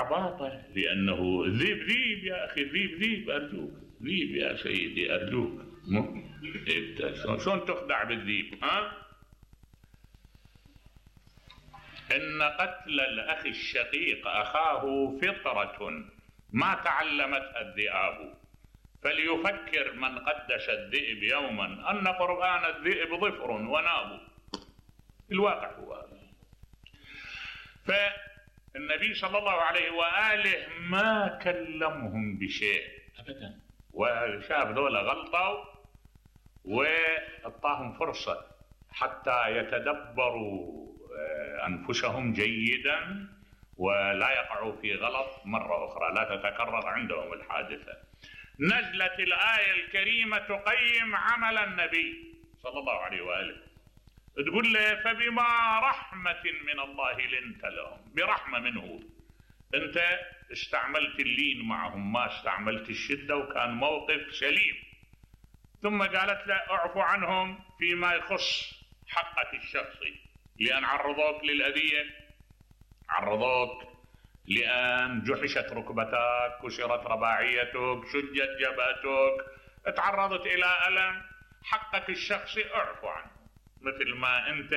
عباطة، لأنه الذيب ذيب يا أخي، الذيب ذيب، أرجوك ذيب يا سيدي أرجوك. شلون تخدع بالذيب؟ إن قتل الأخ الشقيق أخاه فطرة ما تعلمتها الذئاب، فليفكر من قدش الذئب يوما أن قرآن الذئب ظفر وناب. الواقع هو هذا. فالنبي صلى الله عليه وآله ما كلمهم بشيء أبدا، وشاف ذولا غلطوا وأعطاهم فرصة حتى يتدبروا أنفسهم جيدا ولا يقعوا في غلط مرة أخرى، لا تتكرر عندهم الحادثة. نزلت الآية الكريمة تقيم عمل النبي صلى الله عليه وآله، تقول له فبما رحمة من الله لنت لهم، برحمة منه أنت استعملت اللين معهم، ما استعملت الشدة، وكان موقف سليم. ثم قالت له اعفو عنهم فيما يخص حقك الشخصي، لأن عرضوك للأذية، عرضوك لأن جحشت ركبتك، كسرت رباعيتك، شجت جبهتك، تعرضت إلى ألم، حقك الشخصي اعفو عنه مثل ما أنت.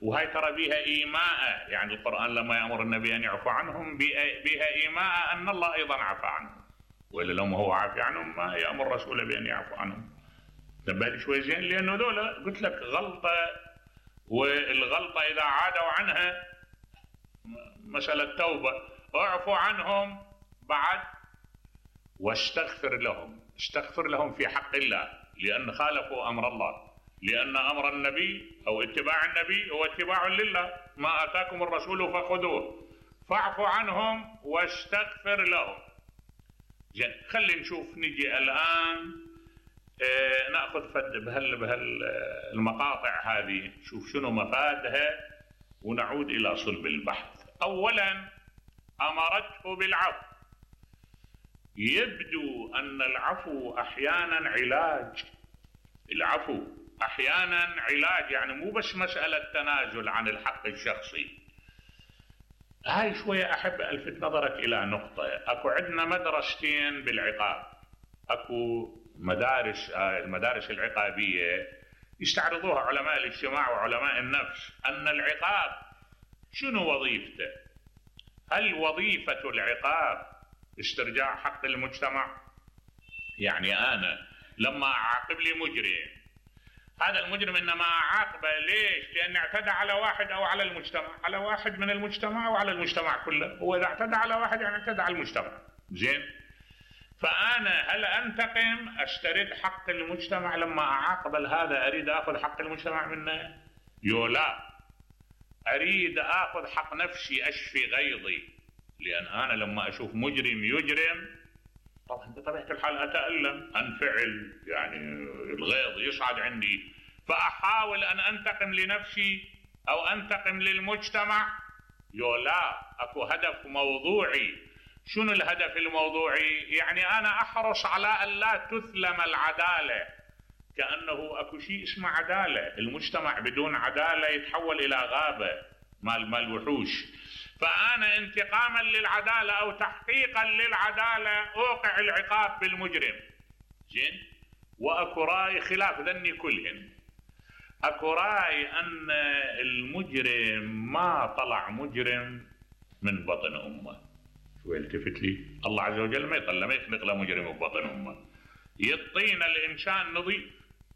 وهي ترى بها إيماء، يعني القرآن لما يأمر النبي أن يعفو عنهم بها إيماء أن الله أيضا عفى عنهم، وإلا لو ما هو عافي عنهم ما يأمر رسوله بأن يعفو عنهم. تبالي شوي زين، لأنه ذولا قلت لك غلطة، والغلطة إذا عادوا عنها مسألة توبة. اعفو عنهم بعد واستغفر لهم، استغفر لهم في حق الله، لأن خالفوا أمر الله، لأن أمر النبي أو اتباع النبي هو اتباع لله، ما آتاكم الرسول فخذوه، فاعفوا عنهم واستغفر لهم. جن خلي نشوف، نجي الآن نأخذ المقاطع هذه، شوف شنو مفادها ونعود إلى صلب البحث. أولا أمرته بالعفو. يبدو أن العفو أحيانا علاج، العفو أحيانا علاج، يعني مو بس مسألة تنازل عن الحق الشخصي. هاي شوية أحب ألفت نظرك إلى نقطة. أكو عندنا مدرستين بالعقاب، أكو المدارس العقابية يستعرضوها علماء الاجتماع وعلماء النفس، أن العقاب شنو وظيفته؟ هل وظيفة العقاب استرجاع حق المجتمع؟ يعني أنا لما أعاقب لي مجرم، هذا المجرم إنما أعاقبه ليش؟ لأن اعتدى على واحد أو على المجتمع، على واحد من المجتمع وعلى المجتمع كله، هو إذا اعتدى على واحد يعني اعتدى على المجتمع. زين، فأنا هل أنتقم أسترد حق المجتمع لما أعاقب هذا؟ أريد أخذ حق المجتمع منه؟ لا، أريد أخذ حق نفسي، أشفي غيظي، لأن أنا لما أشوف مجرم يجرم طبعا بطبيعة الحال أتألم، أنفعل، يعني الغيظ يصعد عندي، فأحاول أن أنتقم لنفسي أو أنتقم للمجتمع. لا، أكو هدف موضوعي. شنو الهدف الموضوعي؟ يعني أنا أحرص على أن لا تثلم العدالة، كأنه أكو شيء اسمه عدالة. المجتمع بدون عدالة يتحول إلى غابة مال وحوش. فأنا انتقاما للعدالة أو تحقيقا للعدالة أوقع العقاب بالمجرم. زين، وأكو رأي خلاف ذني كلهن. أكو رأي أن المجرم ما طلع مجرم من بطن أمه. شو التفت لي؟ الله عز وجل ما يخلق له مجرم ببطن أمه. يعطينا الإنسان نظيف،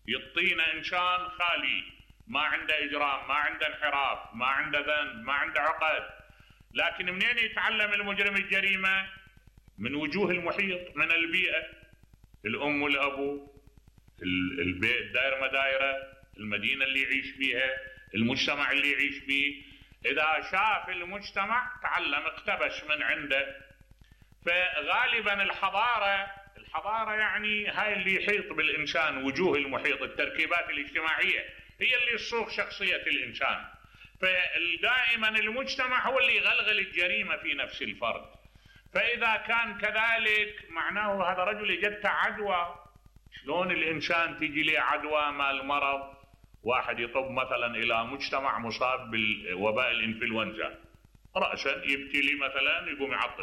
يعطينا إنسان خالي، ما عنده إجرام، ما عنده انحراف، ما عنده ذنب، ما عنده عقد. لكن منين يتعلم المجرم الجريمة؟ من وجوه المحيط، من البيئة، الأم والأبو، البيت، دائرة مدايرة، المدينة اللي يعيش فيها، المجتمع اللي يعيش فيه. إذا شاف المجتمع تعلم، اقتبس من عنده. فغالبا الحضارة يعني هاي اللي يحيط بالإنسان، وجوه المحيط، التركيبات الاجتماعية هي اللي تصوغ شخصية الإنسان. فدائما المجتمع هو اللي يغلغل الجريمة في نفس الفرد. فإذا كان كذلك معناه هذا رجل اجته عدوى. شلون الإنسان تيجي له عدوى مال مرض؟ واحد يطب مثلا إلى مجتمع مصاب بالوباء الإنفلونزا، رأسا يبتلي مثلا يقوم يعطس